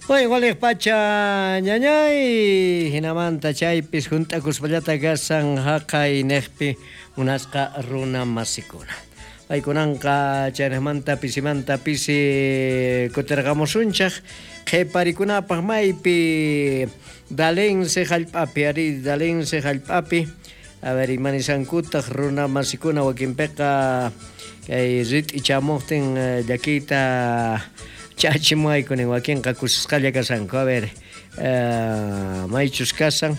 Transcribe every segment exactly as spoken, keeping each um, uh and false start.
Oy, waliq pacha ñañay, hinamanta chaypis junt'akuspallata kasan haqay niqpi munasqa runa masikuna. Paykunanqa chaynamanta pisimanta pisi kutirqamusunchaq qhiparikunapaq maypi Dalense hallp'api, ari Dalense hallp'api, a ver imanisankutaq runa masikuna wakinpiqa kay rit'i chamuqtin llakiyta chachimuaykunin wakinqa kusisqalla kasanku. A ver, uh, maychus kasan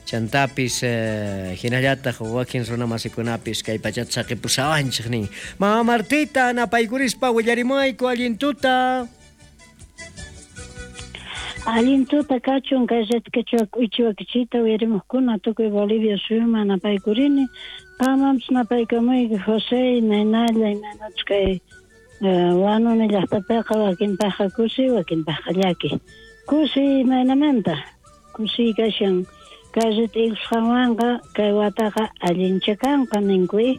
chantapis uh, hinallataq wakin runa masikunapis kay pachata saqipusawanchik nin. Mama Martita napaykurispa willarimuayku allin tuta. Allin tuta kachun kay ritkichwa k'uichiwakichita uyarimuqkuna tukuy Bolivia suyuman napaykurini. Qamampis napaykamuyki José imaynalla imaynachus kay Wanuni llaqtapiqa wakinpaqqa kusi wakinpaqqa llaki. Kusi imaynamanta kusi kashan kay rit'ikusqanwanqa kay wataqa allincha kanqa ninku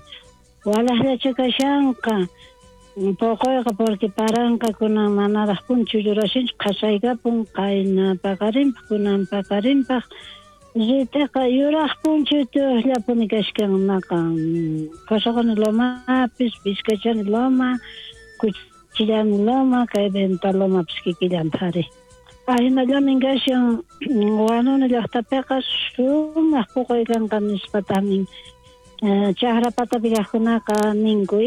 walaqllacha kashanqa poqoyqa porque paranqa kunan manaraq punchu yurashinchu qhasaykapun qayna paqarinpaq kunan paqarinpaq rit'iqa yuraq punchu tuqllapuni kashkan maqa Qosaqoni lomapis Vizcachani loma Cuchillani loma kay Venta lomapis kikillanta ari. Ahinallamin kashan Wanuni llaqtapiqa sumaq puquy kanqa nispataqmin chaqra patapi kaqkunaqa ninku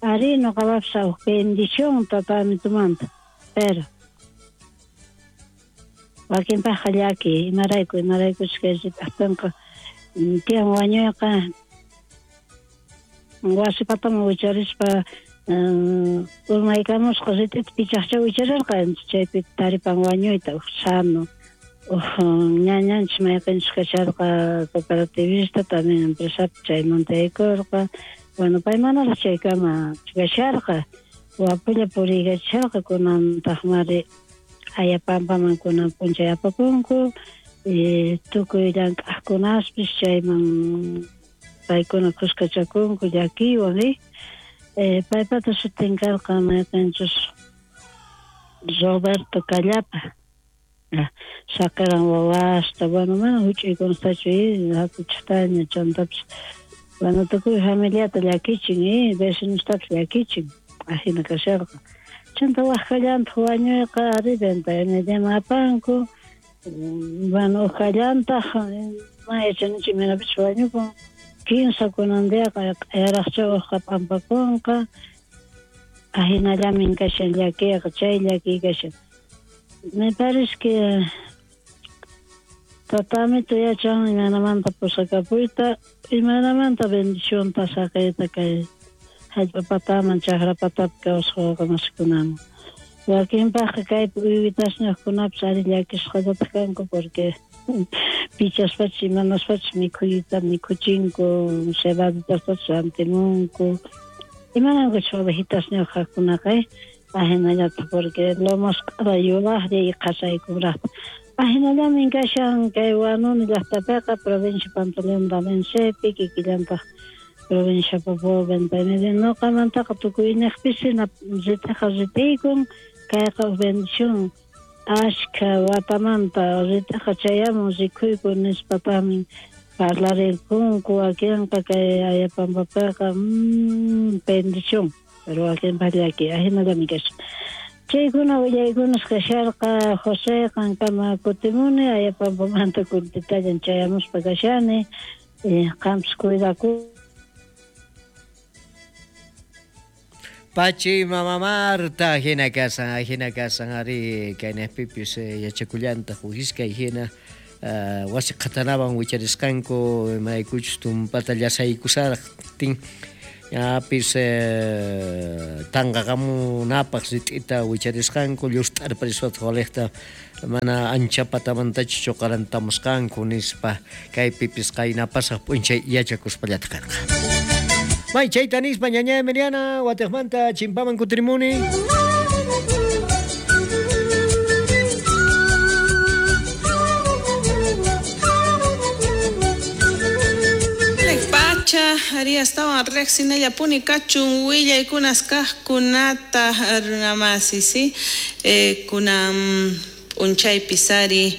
ari nuqapapis huk bendición tatamitumanta pero wakinpaqqa llaki imarayku imaraykuchus kay rit'aqtinqa tiyan wañuyqa wasi pataman wicharispa urmaykamusqa rit'ita pichaqcha wicharirqa chaypi taripan wañuyta huk sano huk ñañanchis mayqinchus kasharqa cooperativista también empresapi chaymanta yaykurqa. Bueno, pay manaraq chaykama kasharqa wapulla puriykachisharqa kunantaqmari Ayapampaman kunan p'unchay apapunku tukuy llank'aqkunaspis chayman paykuna kuskachakunku llakiywan eh paypata sutin karqa mayqinchus Roberto Callapa sacaran wawasta bueno mana huch'uykunastachu hatuchaqtaña chantapis bueno tukuy familiata llakichin eh vecinostapis llakichin ajina kasharqa chanta waqkallantaq wañuyqa ari venta mediaman apanku bueno uqkallantaq mana yachanichu imaynapis wañukun kinsa kunan diaqa q'ayaraqcha uqqa p'ampakunqa ajinallamin kashan llakiyqa chay llakiy kashan. Me parece que tatamito yachan imaynamanta pusakapuyta imaynamanta bendicionta saqiyta kay hallp'a pataman chaqra patapi kawsaq wawqamasikunaman. Wakinpaqqa kaypi uywitasniyuqkunapis ari llakisqallataq kanku porque pichaspachis imanaspachis mikhuyta mikhuchinku cebaditastachis rantimunku imanankuchus ovejitasniyuq kaqkunaqa ajinallataq porque lomasq'ara yuraqlla y qhasaykunraqta. Ajinallamin kashan kay Wanuni llaqtapiqa provincia Pantaleón Dalensepi kikillantaq provincia Papua Venta y Media nuqamantaqa tukuyniqpis rit'iqa rit'iykun kayqa huk bendición ashka watamanta rit'iqa chayamun rikuyku nispataqmin parlarirkunku wakinqa kay Ayapampapiqa mmm bendición pero wakinpaq llaki ajinallami kashan. Chaykuna willaykunas kasharqa José qankama kutimuni Ayapampamanta kuntitallan chayamuspa kashani qampis cuidaku. Pachi mama Marta hina kasan hina kasan ari kaynaqpipis yachakullantaq huk iskay hina wasi qhatanawan wicharisqanku imaraykuchus tumpata llasaykusaqtin ñapis tanqaqamunapaq rit'ita wicharisqanku llust'arpariswataq waliqta mana ancha patamantachu chuqarantamusqanku nispa kaypipis qaynapasaq p'unchay yachakuspallataq karqa. May chayta nispa ñaña Emiliana watiqmanta chimpaman kutirimuni. pacha ari astawan riqsinallapuni kachun willaykunas kaqkunata runamasi, si eh, kunan p'unchaypis ari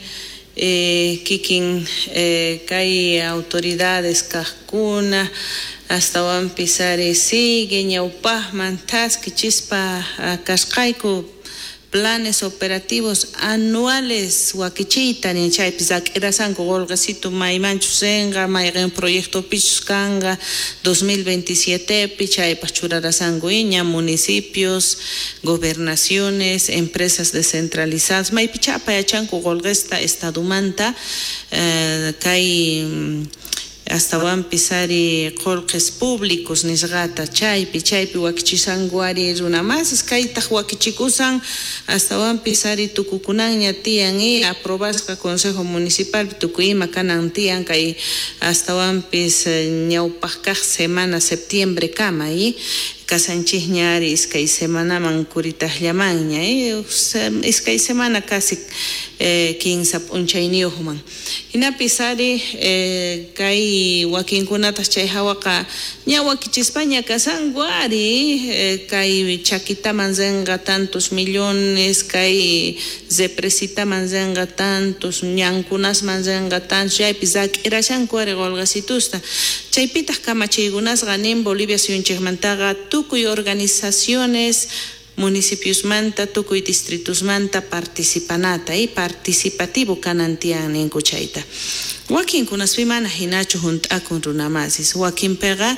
eh, kikin eh, kay autoridades kaqkuna astawanpis ari sigue ñawpaqman thaskichispa kasqayku planes operativos anuales wakichiyta nin chaypis rak'irasanku qolqesitu maymanchus rinqa mayqin proyectopichus kanqa dos mil veintisiete pi chaypaq churarasanku iña municipios, gobernaciones, empresas descentralizadas maypicha apayachanku qolqesta estadumanta eh, kay astawanpis ari qolqes públicos nisqata chaypi chaypi wakichisanku ari runamasis kaytaq wakichikusan astawanpis ari tukukunanña tiyan y aprobasqa consejo municipal tukuy ima kanan tiyan kay astawanpis ñawpaq kaq semana septiembre kama y kasanchikña ari iskay semanaman kuritaqllamanña eh iskay semana casi eh, kinsa p'unchayniyuqman hinapis ari eh, kay wakinkunataq chay hawaqa ña wakichispaña kasanku ari eh, kay chakitaman rinqa tantos millones kay represitaman rinqa tantos ñankunasman rinqa tantos chaypis rak'irashanku ari qolqesitusta chaypitaq kamachiykunasqa nin Bolivia suyunchikmantaqa tukuy organizaciones municipiosmanta tukuy distritosmanta participanata y participativo kanan tiyan ninku chayta wakinkunaspi mana hinachu hunt'akun runamasis wakinpiqa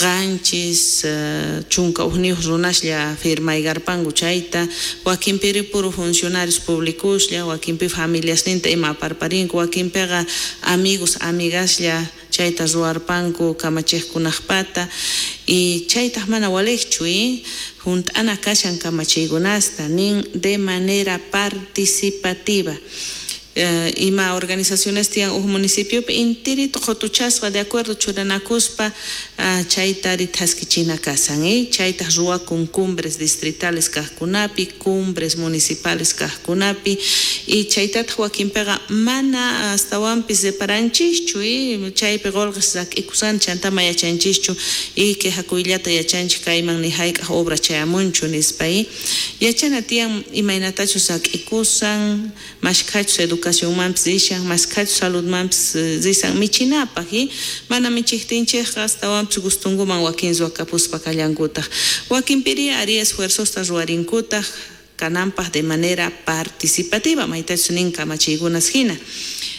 qanchis uh, chunka ujniyuq runaslla firmaykarpanku chayta wakinpiri puro funcionarios públicoslla wakinpi familiasninta ima aparparinku wakinpiqa amigos amigaslla chayta ruwarpanku kamachiqkunaqpata y chaytaq mana waliqchu y hunt'ana kashan kamachiykunasta nin de manera participativa. Uh, ima organizaciones tiyan uj municipiopi intirito qhutuchasqa de acuerdo churanakuspa uh, chayta ari thaskichina kasan eh? Chaytaq ruwakun cumbres distritales kaqkunapi cumbres municipales kaqkunapi y chaytataq wakinpiqa mana astawanpis reparanchikchu eh? Chaypi qolqes rak'ikusan chantama yachanchischu y quejakuyllata yachanchik kayman ni hayk'aq obra chayamunchu nispa eh? Yachana tiyan imaynatachus rak'ikusan mashkhachus educación educacionmanpis rishan mashkhachus saludmanpis risan michinapaq y mana michiqtinchikqa astawanpis gustunkuman wakin ruwakapuspa kallankutaq wakinpiri ari esfuerzosta ruwarinkutaq kananpaq de manera participativa maytachus nin kamachiykunas hina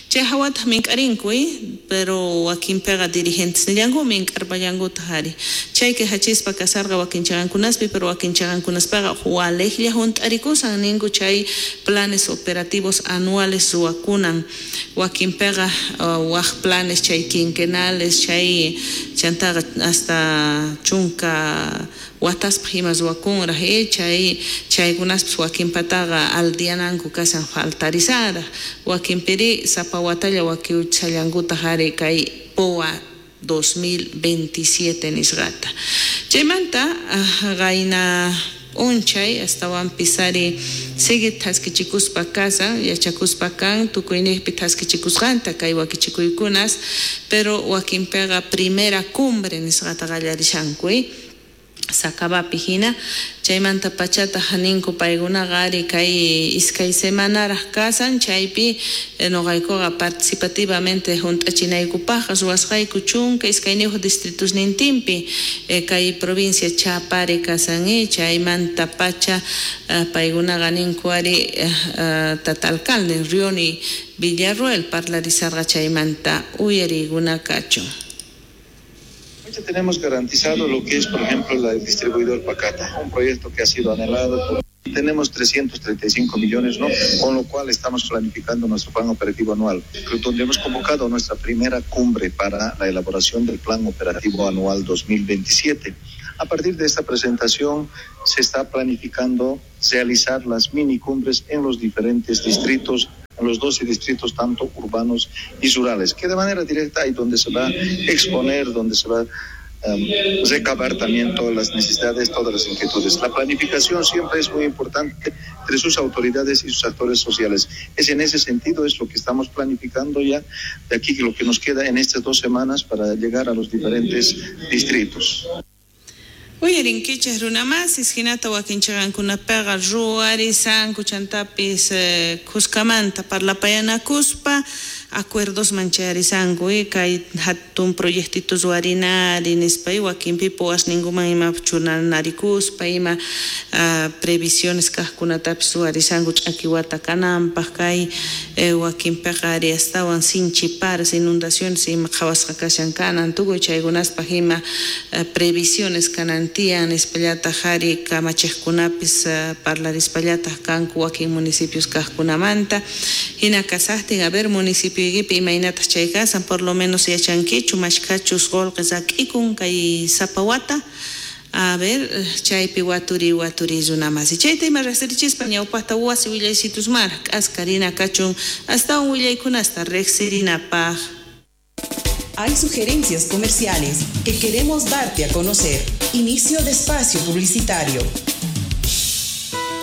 chay hawataq mink'arinku eh? Pero wakinpiqa dirigentes nillanku mink'arpallankutaq ari chay quejachispa kasarqa wakin chaqankunaspi pero wakin chaqankunaspaqa waliqlla hunt'arikusan ninku chay planes operativos anuales ruwakunan wakinpiqa uh, waq planes chay quinquenales chay chantaqa hasta chunka wataspaq ima ruwakunraq eh? Chay chaykunaspis wakinpataqa aldiananku kasan faltarisaraq wakinpiri sapa watalla wakiuchallankutaq ari kay P O A dos mil veintisiete nisqata chaymanta qayna p'unchay astawanpis ari sigue thaskichikuspa kasan yachakuspa kan tukuyniqpi thaskichikusqanta kay wakichikuykunas pero wakinpiqa primera cumbre nisqata qallarishanku eh? Sakabapi hina chaymanta pachataq ninku paykunaqa ari kay iskay semanaraq kasan chaypi noqaykuqa participativamente hunt'achinaykupaqqa ruwasqayku chunka iskayniyuq distritosnintinpi kay provincia Chapare kasan chaymanta pacha paykunaqa ninku ari tata alcalde Rioni Villarroel parlarisarqa chaymanta uyariykuna kachun. Tenemos garantizado lo que es, por ejemplo, el distribuidor Pacata, un proyecto que ha sido anhelado. Tenemos trescientos treinta y cinco millones, ¿no? Con lo cual estamos planificando nuestro plan operativo anual, donde hemos convocado nuestra primera cumbre para la elaboración del plan operativo anual dos mil veintisiete. A partir de esta presentación se está planificando realizar las mini cumbres en los diferentes distritos, en los doce distritos, tanto urbanos y rurales, que de manera directa ahí donde se va a exponer, donde se va um, recabar también todas las necesidades, todas las inquietudes. La planificación siempre es muy importante entre sus autoridades y sus actores sociales. Es en ese sentido, es lo que estamos planificando ya de aquí, lo que nos queda en estas dos semanas para llegar a los diferentes distritos. Uyarinkichej runamasis hinata wakinchiqankunapiqa ruwarisanku chantapis eh, kuskamanta parlapayanakuspa acuerdosman chayarisanku y kay hatun proyectito ruwarinari nispa y wakinpi puwasninkuman ima chunanarikuspa ima uh, previsiones kaqkunatapis ruwarisanku ch'aki wata kananpaq kay eh, wakinpiqa ari astawan sinchi paras inundaciones ima qhawasqa kashan kanan tukuy chaykunaspaq ima uh, previsiones kanan tiyan nispallataq ari kamachiqkunapis uh, parlarispallataq kanku wakin municipios kaqkunamanta hina kasaqtin a ver municipio imaynataq chay kasan por lo menos yachankichu mashkhachus qullqi rak'ikun kay sapa wata a ver chaypi waturi waturi runamasi chayta ima riqsirichispa ñawpaqta wasi willaysitusmara k'askarina kachun astawan willaykunasta riqsirinapaq. Hay sugerencias comerciales que queremos darte a conocer. Inicio de espacio publicitario.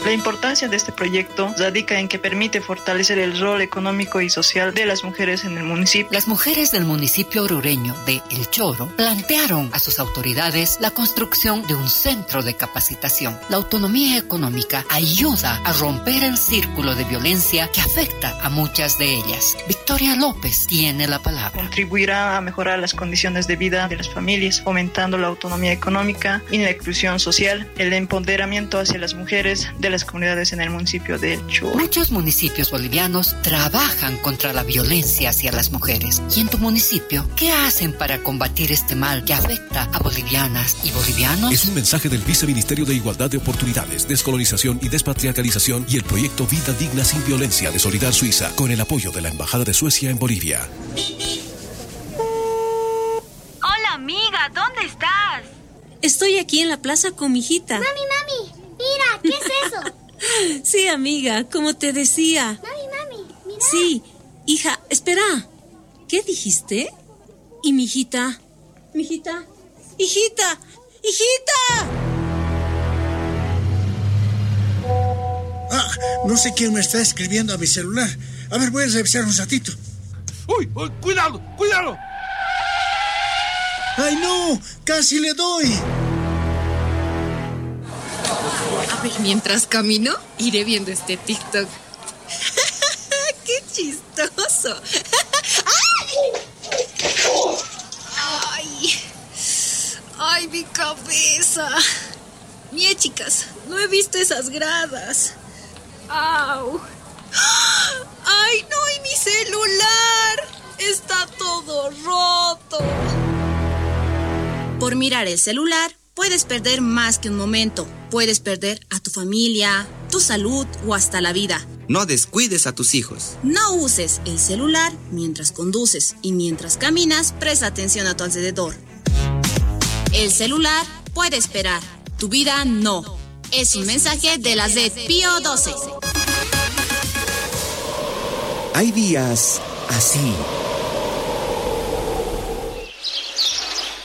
La importancia de este proyecto radica en que permite fortalecer el rol económico y social de las mujeres en el municipio. Las mujeres del municipio orureño de El Choro plantearon a sus autoridades la construcción de un centro de capacitación. La autonomía económica ayuda a romper el círculo de violencia que afecta a muchas de ellas. Victoria López tiene la palabra. Contribuirá a mejorar las condiciones de vida de las familias, fomentando la autonomía económica y la inclusión social, el empoderamiento hacia las mujeres de las comunidades en el municipio de El Choro. Muchos municipios bolivianos trabajan contra la violencia hacia las mujeres. ¿Y en tu municipio qué hacen para combatir este mal que afecta a bolivianas y bolivianos? Es un mensaje del Viceministerio de Igualdad de Oportunidades, Descolonización y Despatriarcalización y el proyecto Vida Digna sin Violencia de Solidar Suiza, con el apoyo de la Embajada de Suecia en Bolivia. Hola amiga, ¿dónde estás? Estoy aquí en la plaza con mi hijita. Mami, mami, mira, ¿qué es eso? Sí, amiga, como te decía. Mami, mami, mira. Sí, hija, espera. ¿Qué dijiste? ¿Y mi hijita? ¿Mi hijita? ¡Hijita! ¡Hijita! Ah, no sé quién me está escribiendo a mi celular. A ver, voy a revisar un ratito. ¡Uy! uy, ¡Cuidado! ¡Cuidado! ¡Ay, no! ¡Casi le doy! A ver, mientras camino, iré viendo este TikTok. ¡Qué chistoso! ¡Ay! ¡Ay, mi cabeza! Mie, chicas, no he visto esas gradas. ¡Au! ¡Ay, no! ¡Y mi celular! ¡Está todo roto! Por mirar el celular, puedes perder más que un momento. Puedes perder a tu familia, tu salud o hasta la vida. No descuides a tus hijos. No uses el celular mientras conduces y mientras caminas, presta atención a tu alrededor. El celular puede esperar, tu vida no. Es un mensaje de la Z Pío doce. Hay días así.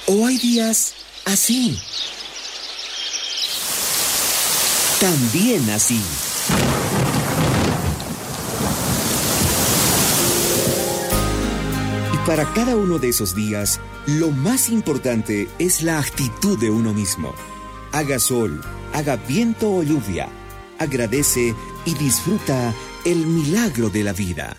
O hay días así. También así. Y para cada uno de esos días, lo más importante es la actitud de uno mismo. Haga sol, haga viento o lluvia, agradece y disfruta el milagro de la vida.